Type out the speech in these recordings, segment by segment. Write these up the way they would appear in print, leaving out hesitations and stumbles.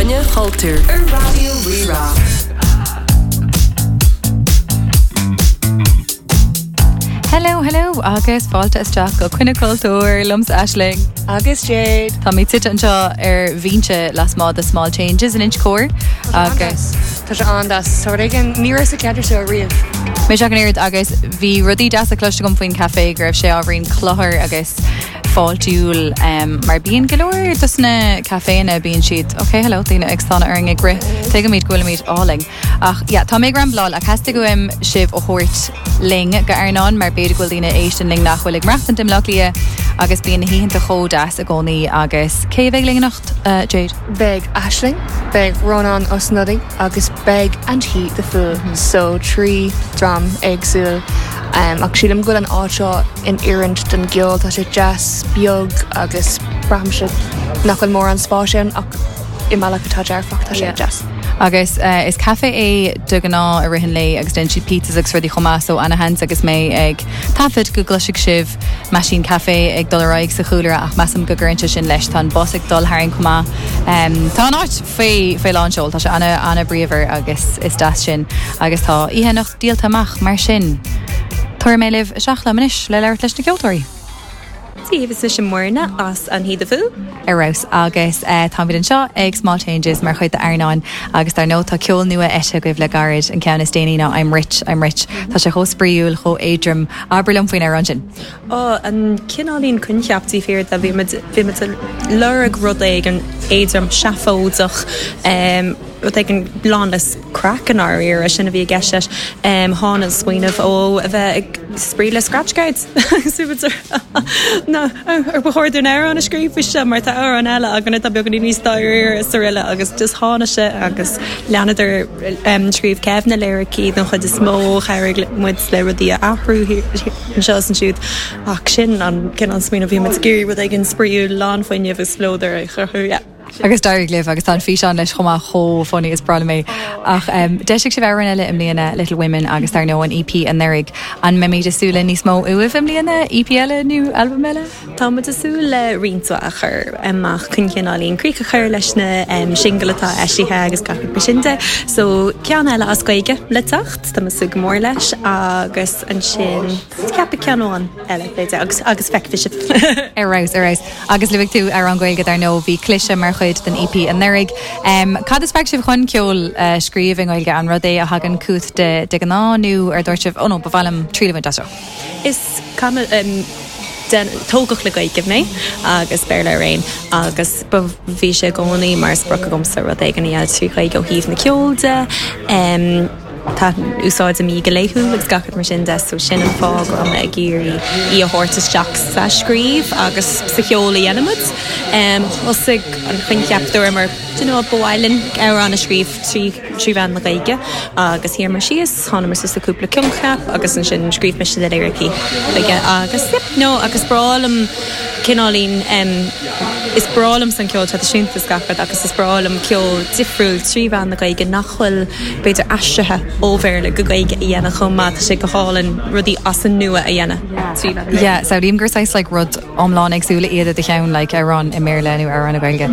Coinne Chultúir ar Raidió Rí-Rá. Hello, hello agus fáilte isteach go Coinne Cultúir liomsa Aisling. Agus Jade. Táimid suite anseo ar bhinse lasmuigh de Small Changes in Inch Chór agus. Tá sé an-deas. Tá rud éigin, ní raibh sa cheantar seo riamh. Mise ach an oiread agus bhí rudaí deasa cloiste agam faoin café go raibh sé ábhairín cluthar agus fáiltiúil mar bíonn go leor dos na caiféanna bíonn siad ok hello daoine ag stánadh orainn ag rith tuigimid go bhfuilimid álainn ach yeah tá mé ag rambláil ach theastaigh uaim sibh a thabhairt linn go Airneán mar b'fhéidir go bhfuil daoine ag éisteacht linn nach bhfuil ag maireachtaint i mBleá Cliath agus bíonn na hoícheanta chomh deas i gcónaí agus cé a bheidh linn anocht Jade? Beidh Aisling, beidh Rónán Ó Snodaigh agus beidh And He The Fool so 3 dream éagsúil ach sílim go bhfuil an áit seo in oiriúint don gceol. Tá sé deas, beag agus braithimse nach bhfuil mórán spáis ann ach i mbealach atá dearfach, tá sé deas. Agus is caife é de ghnáth i rith an lae agus déanann siad pizzas agus rudaí chomh maith so ana-sheans agus mé ag taifead go gcloisfidh sibh meaisín caife ag dul ar aghaidh sa chúlra ach measaim go gcuireann sé sin leis. Tá an bus ag dul tharainn chomh maith. Tá an áit faoi faoi lán seol, tá sé ana ana bríomhar agus is deas sin agus tá oíche anocht díolta amach, mar sin tabharfaidh mé libh isteach liom anois le labhairt leis na ceoltóirí. Dia daoibh, is mise Muirne as And He The Fool. Ar fheabhas agus táimid anseo ag Small Changes mar chuid d'Airneán agus dar ndóigh tá ceol nua eisithe agaibh le gairid, an ceann is déanaí ná I'm Rich, I'm Rich. Tá sé chomh spraíúil, chomh éadrom. Abair liom faoin amhrán sin. Ó, an cineáilín coincheap taobh thiar de, bhí muid, bhí muid ag lorg rud éigin éadrom, seafóideach, rud éigin lán le craic i ndáiríre, sin a bhí i gceist leis. Tháinig an smaoineamh ó a bheith ag spraoi le scratch cards. Nó ar ba chóir dúinn amhrán a scríobh faoi seo mar tá amhrán eile againn atá beagáinín níos dáiríre is araile agus just tháinig sé agus leanadar scríobh Kev na liricí don chuid is mó, chabhraigh muid le rudaí a athrú anseo is ansiúd ach sin an cineál smaoineamh bhí muid ag iarraidh rud éigin spraíúil lán fuinnimh is spleodar a chruthú. Yeah. Agus d'éirigh libh agus tá an físeán leis chomh maith chomh funny is breá liom é. Ach d'eisigh sibh amhrán eile i mbliana, Little Women agus dar ndóigh an EP anuraidh. An mbeimid ag súil le níos mó uaibh i mbliana, EP eile nó albam eile? Tá muid ag súil le roinnt mhaith a chur amach chun cineáilín críoch a chur leis na singil atá eisithe agus gach rud mar sin de. So ceann eile as Gaeilge le teacht, tá muid ag súil go mór leis agus ansin ceapadh ceann amháin eile b'fhéidir agus agus feicfidh sibh. Ar fheabhas, ar fheabhas. Agus luaigh tú amhrán Gaeilge, dar ndóigh, bhí Cliseadh mar chuid den EP anuraidh. Cad a spreag sibh chun ceol a scríobh i nGaeilge? An rud é a thagann chugat de de ghnáth nó ar dúirt sibh, oh no, ba mhaith liom triail a bhaint as seo? Is cuma, tógadh le Gaeilge mé agus Béarla araon agus ba, bhí sé i gcónaí mar sprioc agamsa rud éigin a dhéanamh trí Ghaeilge ó thaobh na ceoil de. Tá, úsáidim í go laethúil agus gach rud mar sin de so sin an fáth go raibh mé ag iarraidh í a thabhairt isteach sa scríobh agus sa cheol a dhéanaimid. Thosaigh an coincheap dúramar do you know what ba mhaith linn amhrán a scríobh trí mheán na Gaeilge agus shuíomar síos, thánamar suas le cúpla coincheap agus ansin scríobh mise na liricí chuige agus yep no agus breá liom cineáilín is breá liomsa an ceol traidisiúnta is gach rud agus is breá liom ceol difriúil trí mheán na Gaeilge nach bhfuil b'fhéidir aistrithe ó Bhéarla go Gaeilge a dhéanamh chomh maith, tá sé go hálainn rudaí as an nua a dhéanamh trí mheán na Gaeilge. Yeah, samhlaím gur saghas like rud iomlán éagsúla iad i do cheann like amhrán i mBéarla nó amhrán i nGaeilge.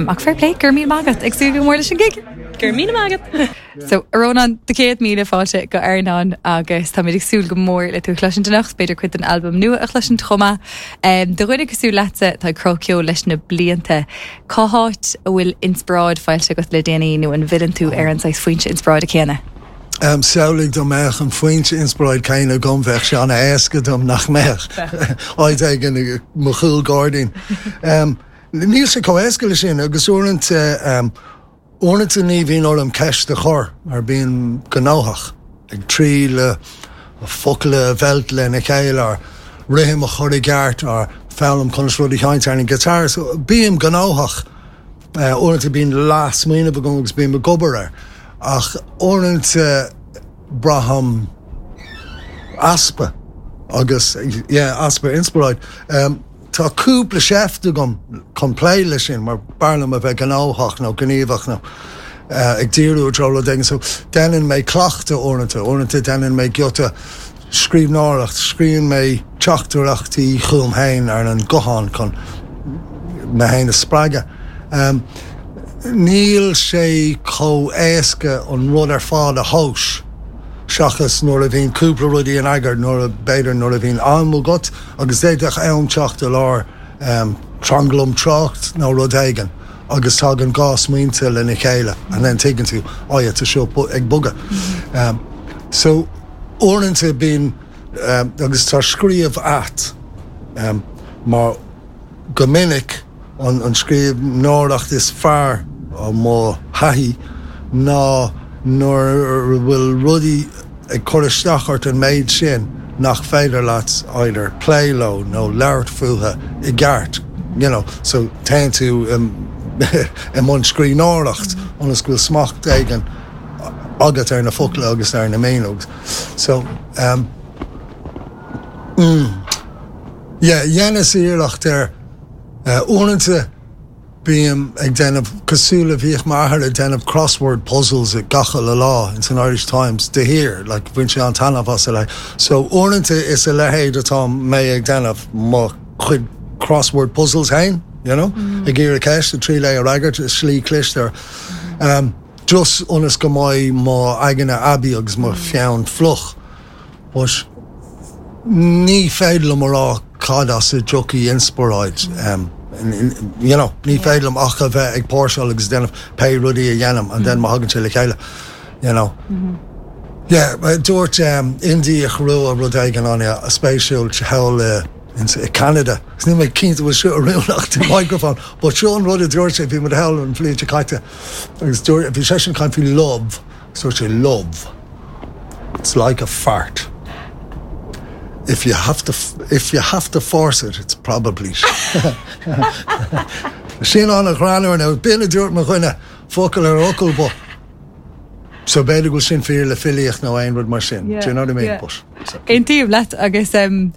Ach fair play, go raibh míle maith agat, ag súil go mór leis an gig! Go raibh míle maith agat! So, a Rónáin, do 100,000 fáilte go Airneán agus táimid ag súil go mór le tú a chloisint anocht, b'fhéidir cuid den albam nua a chloisint chomh maith. Do dhuine cosúil leatsa atá ag cruthú ceoil leis na blianta, cá háit a bhfuil inspioráid faighte agat le déanaí nó an bhfilleann tú ar an saghas foinse inspioráide céanna? Samhlaigh dá mbeadh an foinse inspioráid céanna agam, bheadh sé an-éasca dom, nach mbeadh? Áit éigin i mo chúl gairdín. Níl sé chomh éasca le sin agus uaireanta, Uaireanta ní bhíonn orm ceist a chur mar bím gnóthach ag triail focail a mheilt lena chéile or rithim a chur i gceart or foghlaim conas rud a sheinnt ar an guitar. So bím gnóthach. Uaireanta bíonn leath-smaoineamh agam agus bím ag obair air ach uaireanta braithim easpa agus yeah easpa inspioráid. Tá cúpla seift agam chun plé leis sin mar b'fhearr liom a bheith gnóthach nó gníomhach nó ag díriú i dtreo rud éigin so déanann mé cleachtadh uaireanta, uaireanta déanann mé giota scríbhneoireacht, scríobhann mé teachtaireachtaí chugam féin ar an guthán chun mé féin a spreagadh. Níl sé chomh éasca an rud ar fad a thomhas seachas nuair a bhíonn cúpla rudaí in eagar, nuair a, b'fhéidir nuair a bhíonn am agat agus d'fhéadfadh am teacht i lár tranglam trácht nó rud éigin agus tagann 2 smaointe lena chéile and then tuigeann tú, oh yeah, tá seo ag bogadh. So uaireanta bíonn, agus tá scríobh ait mar go minic, An scríbhneoireacht is fearr ó mo thaithí ná nuair a bhfuil rudaí ag cur isteach ort an méid sin nach féidir leat either plé leo nó labhairt fúthu i gceart, you know, so téann tú i mbun scríbhneoireacht ionas go bhfuil smacht éigin agat ar na focla agus ar na míniú. So, um, mm, yeah, dheineas iarracht ar Uaireanta bím ag déanamh cosúil le bhíodh m'athair ag déanamh crossword puzzles gach uile lá ins an Irish Times de shíor, like bhain sé an-taitneamh as like. So uaireanta is a leithéid atá mé ag déanamh, mo chuid crossword puzzles fhéin, you know, ag iarraidh ceist ag triail é a fhreagairt i slí cliste. Um, just ionas go mbeidh mo aigne aibí agus mo pheann fliuch. But ní féidir liom a rá cad as a dtiocfaidh inspioráid. You know, ní féidir liom ach a bheith ag póirseáil agus déanamh pé rudaí a dhéanaim and then má thagann sé le chéile, you know. Yeah, dúirt Indiach rua rud éigin an-spéisiúil thall i Canada. Agus níl mé cinnte bhfuil seo oiriúnach don microphone, but seo an rud a dúirt sé, bhí muid thall an bhliain seo caite agus dúirt, bhí seisean ag caint faoi love. Dúirt sé love, it's like a fart, if you have to, if you have to force it, it's probably Sin an-ghreannmhar now, b'in a dúirt mo dhuine, focal ar fhocal, but so b'fhéidir go bhfuil sin fíor le filíocht nó aon rud mar sin, do you know what I mean? But, Aontaím leat agus um,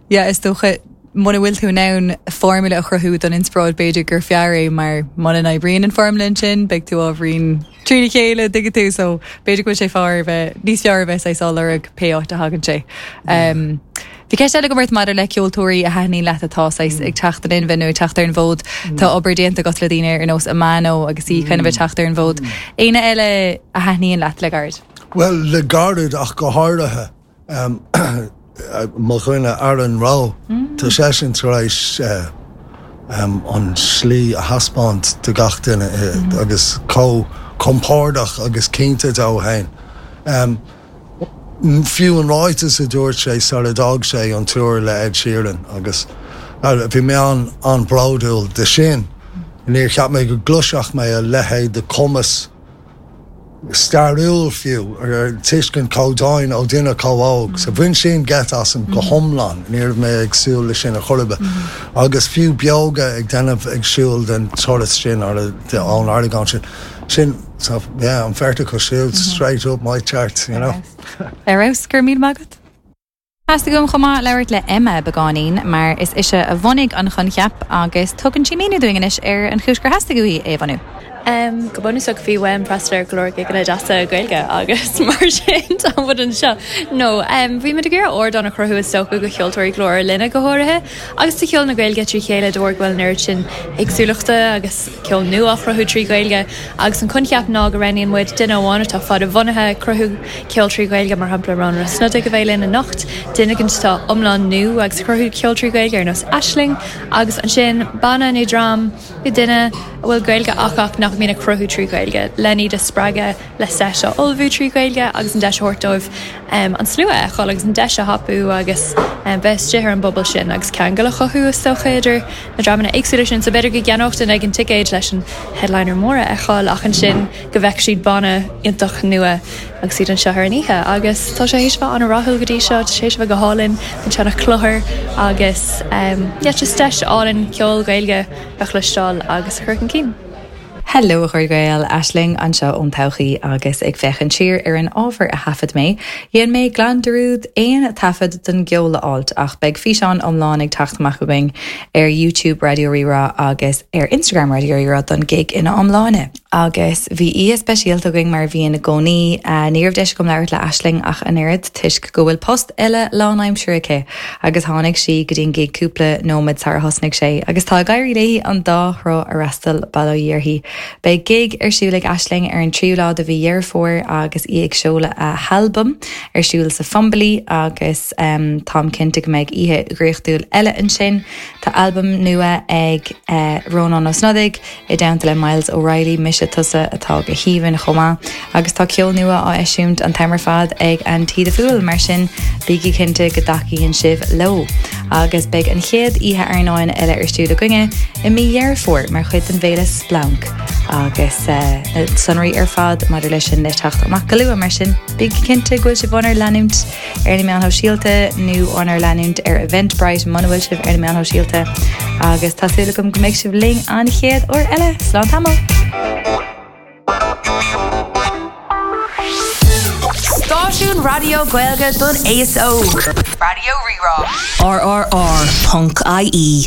yeah, is dócha muna bhfuil tú in ann formula a chruthú don inspioráid b'fhéidir gur fearr é mar muna n-oibríonn an formula ansin beidh tú ábhairín trína chéile tuigeann tú so b'fhéidir go bhfuil sé fearr a bheith níos fearr a bheith saghas á lorg pé áit a thagann sé. Um, Bhí ceist eile agam ort maidir le ceoltóirí a thaitníonn leat atá saghas ag teacht in inmhe nó ag teacht ar an bhfód. Tá obair déanta agat le daoine ar nós Amano agus í kind of ag teacht ar an bhfód. Éinne eile a thaitníonn leat le gairid? Bhuel, le gairid ach go háirithe. Mo dhuine Aaron Rowe, tá seisean tar éis an slí a thaispeáint do gach duine agus chomh compordach agus cinnte dó fhéin. Fiú an ráiteas a dúirt sé sar a d'fhág sé an tour le Ed Sheeran agus bhí mé an-bhródúil de sin. Níor cheap mé go gcloisfeadh mé a leithéid de chumas. stairiúil fiú, ar tuiscint chomh domhain ó duine chomh óg. So bhain sin geit asam go hiomlán, ní raibh mé ag súil le sin ar chor ar bith. Agus fiú Beoga ag déanamh ag siúl den turas sin ar ón argóint sin, sin, so yeah, an bheirt acu siúd straight up my charts, you know. Ar fheabhas, go raibh míle maith agat. Theastaigh uaim chomh maith labhairt le Emma beagáinín mar is ise a bhunaigh an choincheap agus tugann sí míniú dúinn anois ar an chúis gur theastaigh uaithi é a bhunú. Go bunúsach bhí uaim freastal ar go leor gigeanna deasa Gaeilge agus mar sin tá muid anseo. No, bhí muid ag iarraidh ardán a chruthú is dócha do cheoltóirí Ghlór na Linne go háirithe agus do cheol na Gaeilge trí chéile de bharr go bhfuil an oiread sin éagsúlachta agus ceol nua á chruthú trí Ghaeilge agus an coincheap ná go roghnaíonn muid duine amháin atá fada bhunaithe ag cruthú ceol trí Ghaeilge, mar shampla Rónán Ó Snodaigh a bheidh linn anocht, duine éigin atá iomlán nua agus ag cruthú ceol trí Ghaeilge ar nós Aisling agus ansin banna nó dream nó duine a bhfuil Gaeilge acu ach nach mbíonn ag cruthú trí Ghaeilge len iad a spreagadh le seit a ullmhú trí Ghaeilge agus an deis a thabhairt dóibh an slua a fheiceáil agus an deis a thapú agus bheith istigh ar an bpobal sin agus ceangal a chothú is dócha idir na dreamanna éagsúla sin. So b'fhéidir go gceannódh duine éigin ticéad leis an headliner mór a fheiceáil ach ansin go bhfeicfidh siad banna iontach nua agus iad anseo ar an oíche. Agus tá sé théis bheith an-rathúil go dtí seo, tá sé théis bheith go hálainn, an seana-chluthair agus yeah just deis álainn ceol Gaeilge a chloisteáil agus a chur chun cinn. Hello a chairde Gael, Aisling anseo ón todhchaí agus ag féachaint siar ar an ábhar a thaifead mé, dhein mé glan dearúd aon taifead den gceol a fháilt ach beidh físeán iomlán ag teacht amach againn ar YouTube Raidió Rí-Rá agus ar Instagram Raidió Rí-Rá don gig ina iomláine. Agus bhí oíche speisialta againn mar a bhíonn i gcónaí. Ní raibh deis agam labhairt le Aisling ach an oiread toisc go bhfuil post eile lánaimseartha aici agus tháinig sí go dtí an gig cúpla nóiméad sara thosnaigh sé agus tá ag éirí léi an dá thrá a fhreastal, bail ó Dhia uirthi. Beidh gig ar siúl ag Aisling ar an tríú lá de mhí Dheireadh Fómhair agus í ag seoladh a halbaim ar siúl sa Fumbally agus táim cinnte go mbeidh oíche dhraíochtúil eile ansin. Tá albam nua ag Rónán Ó Snodaigh. I dteannta le Myles O'Reilly, Mise Tusa atá go haoibhinn chomh maith. Agus tá ceol nua á eisiúint an t-am ar fad ag Anti The Fool, mar sin bígí cinnte go dtacaíonn sibh leo. Agus beidh an chéad oíche airneáin eile ar siúl againne i mí Dheireadh Fómhair mar chuid den bhféile Splanc agus na sonraí ar fad maidir leis sin le teacht amach go luath, mar sin bígí cinnte go bhfuil sibh ánár leanúint. ar na meáin shóisialta nó ánár leanúint ar Eventbrite muna bhfuil sibh ar na meáin shóisialta agus tá súil agam go mbeidh sibh linn an chéad uair eile. Slán tamall! Stáisiún raidió Gaeilge don aos óg. Raidió Rí-Rá. RRR.ie.